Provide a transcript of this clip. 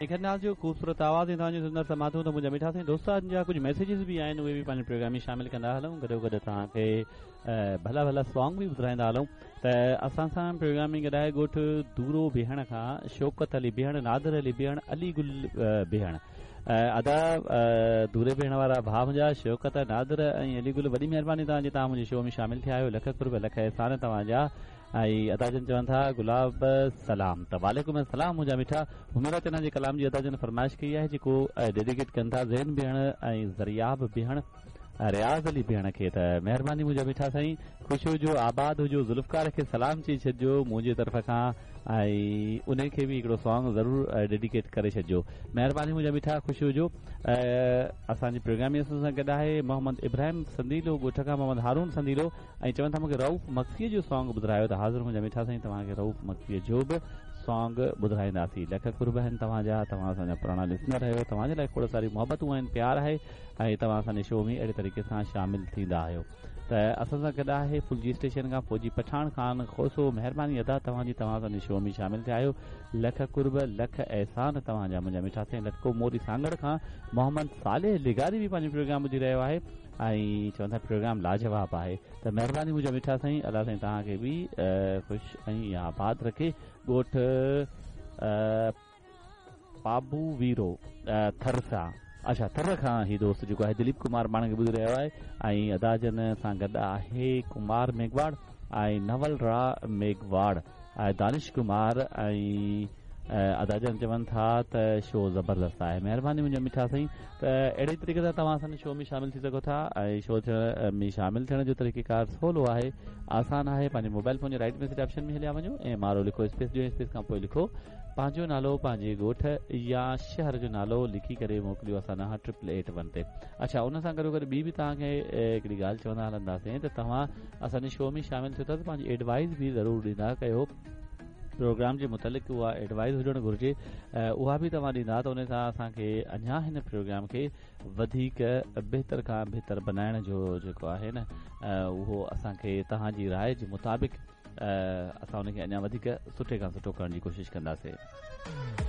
نگهت ناز جو خوبصورت آواز ۽ توهان جون سندر سماعتون ته منهنجا مٺا سائين دوستن جا ڪجهه ميسيجز به آهن اهي به پنهنجي پروگرام ۾ شامل ڪندا هلون گڏو گڏ توهان کي ڀلا ڀلا سانگ به ٻڌرائيندا هلون ته اسان سان پروگرام ۾ گڏ آهي ڳوٺ دورو بيهڻ کان شوڪت علي بيهڻ نادر علي بيهڻ علي گل بيهڻ ادا دوري بيهڻ وارا ڀاء منهنجا شوڪت نادر ۽ علي گل وڏي مهرباني توهان جي توهان منهنجي شو ۾ شامل ٿيا آهيو لک قرب لک احسان توهان جا ۽ ادا جن چون ٿا گلاب سلام ته وعليڪم السلام منهنجا مٺا حميرا چنا جي ڪلام جي ادا جن فرمائش ڪئي آهي جيڪو ڊيڊيڪيٽ ڪن ٿا زين بيهڻ ۽ زرياب بيهڻ رياض علي بيهڻ کي ته مهرباني منهنجا مٺا سائين خوش هجو آباد هجو ذوالفقار کي سلام چئي ڇڏجو منهنجي طرف کان ۽ انهي کي به هڪڙو سانگ ضرور ڊيڊيڪيٽ ڪري ڇڏجو مهرباني منهنجا مٺا خوش هجو اسان جي پروگرام ۾ اسان سان گڏ آهي محمد ابراهيم سنديلو ڳوٺ کان محمد هارون سنديلو ۽ چون ٿا مونکي رئوف مگسيء جو سانگ ٻڌرايو ته حاضر منهنجا مٺا سائين توهان کي رئوف مگسيء جو به سانگ ٻڌرائينداسين لک قرب آهن توهان جا توهان اسان جا پراڻا لسنر آهيو توهان جي لاء کوڙ ساريون محبتون آهن پيار آهي ۽ توهان اسان جي شو ۾ اهڙي طريقي سان شامل ٿيندا آهيو ته اسان سان گڏ آهي ڦلجي اسٽيشن کان فوجي پٺاڻ خان کوسو مهرباني ادا توهان جي توهان اسان جي شو ۾ شامل ٿيا آهيو لک قرب لک احسان توهان جا منهنجا مٺا سائين لٽڪو موري سانگهڙ کان محمد صالح لغاري به پنهنجو پروگرام ٻڌي رهيو آهي ۽ چون ٿا پروگرام لاجواب آهي ته مهرباني منهنجا مٺا سائين الله سائين توهان کي به خوش ۽ آباد رکي ڳوٺ پابو ويرو ٿر سان اڇا ٿر کان هي دوست جيڪو آهي دليپ ڪمار پاڻ کي ٻڌي رهيو آهي ۽ ادا جن سان گڏ آهي ڪمار ميگهواڙ ۽ نول را ميگهواڙ ۽ دانش ڪمار ۽ ادا جن چون ٿا ته شو زبردست آهي مهرباني منهنجا مٺا سائين ته اهڙي طريقي سان توهان اسان جي شو ۾ شامل ٿي سگهو ٿا ۽ شو ٿيڻ ۾ شامل ٿيڻ جو طريقي ڪار سولو آهي آسان آهي پنهنجي موبائل فون جي رائٽ ميسيج آپشن ۾ هليا وڃو ۽ M R O لکو اسپيس ڏيو اسپيس کان پوء لکو پنهنجو نالو پنهنجي ڳوٺ يا شهر جو نالو لکي ڪري موڪليو اسان ڏانهن ٽرپل ايٽ ون تي اڇا ان سان گڏو گڏ ٻي به توهان کي هڪڙي ڳالهه چوندا هلنداسين ته توهان اسان جي شو ۾ شامل ٿيو ٿا ته پنهنجي ايڊوائز به ضرور ڏيندا ڪيو پروگرام جي متعلق اها ايڊوائز هجڻ گهرجي اها به توهان ڏيندا ته ان سان اسان کي اڃا هن پروگرام کي وڌيڪ بهتر کان بهتر بنائڻ جو جيڪو آهي نه اهو اسان کي توهان جي راء جي مطابق اسان ان کي اڃا وڌيڪ سٺي کان سٺو ڪرڻ جي ڪوشش ڪنداسين.